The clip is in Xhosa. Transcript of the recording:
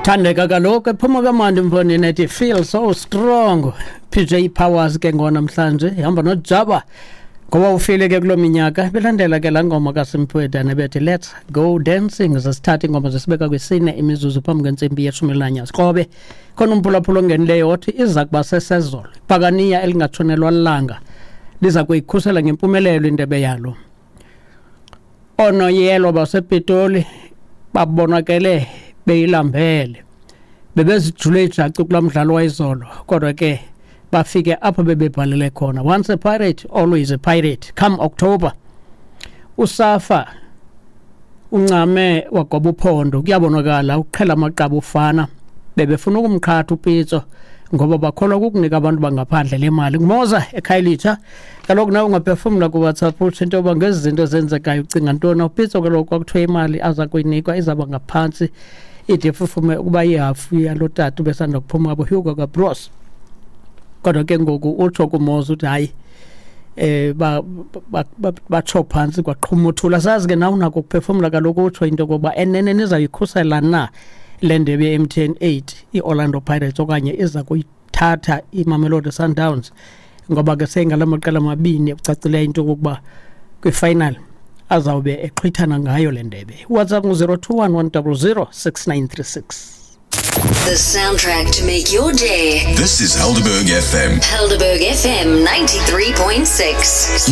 Thandeka kaloku ephuma kamandi mfondini ethi "Feel So Strong", PJ Powers ke ngonamhlanje ihamba nojaba ngoba ufile ke kuloo minyaka belandela ke laa ngoma kaSimphiwe Dana bethi "Let's Go Dancing". Zesithatha iingoma zesibeka kwisine imizuzu phambi kwentsimbi yeshumi elinanye. Sikrobe khona umphulaphula ongenileyo othi iza kuba sesezolo ibhakaniya elingatshonelwa lilanga liza kuyikhusela ngempumelelo indebe yalo. Oonoyelo basePitoli babonakele beyilambele, bebezijule ijacu kulaa mdlalo wayizolo, kodwa ke bafike apho bebebhalele khona. Once a pirate, always a pirate. Come October, uSafa uncame wagoba uphondo, kuyabonakala uqhela amaqaba ufana. Bebefuna ukumqhatha uPitso ngoba bakholwa kukunika abantu bangaphandle le mali. Ngumoza eKhayelitsha kaloku. Nawe ungaphefumla kuWhatsApp, utsho into yoba ngezi zinto zenzekayo ucinga ntoni. UPitso kaloku kwakuthiwa imali aza kuyinikwa izawuba ngaphantsi ide ifufume ukuba ihafu yalo tata ubesanda kuphuma abo Hugo kaBroos, kodwa ke ngoku utsho kumoza uthi hayi, batsho phantsi kwaqhuma uthula. Sazi ke nawe unako ukuphefumla kaloku, utsho into yokokuba enene nizayikhusela na le ndebe ye-MTN 8 i-Orlando Pirates okanye iza kuyithatha iMamelodi Sundowns, ngoba ke seyingala maqela mabini ekucacileyo into yokokuba kwifinal azawube exhwithana ngayo le ndebe. WhatsApp ngu-021 100 6936. The soundtrack to make your day. This is Helderberg FM. Helderberg FM 93.6.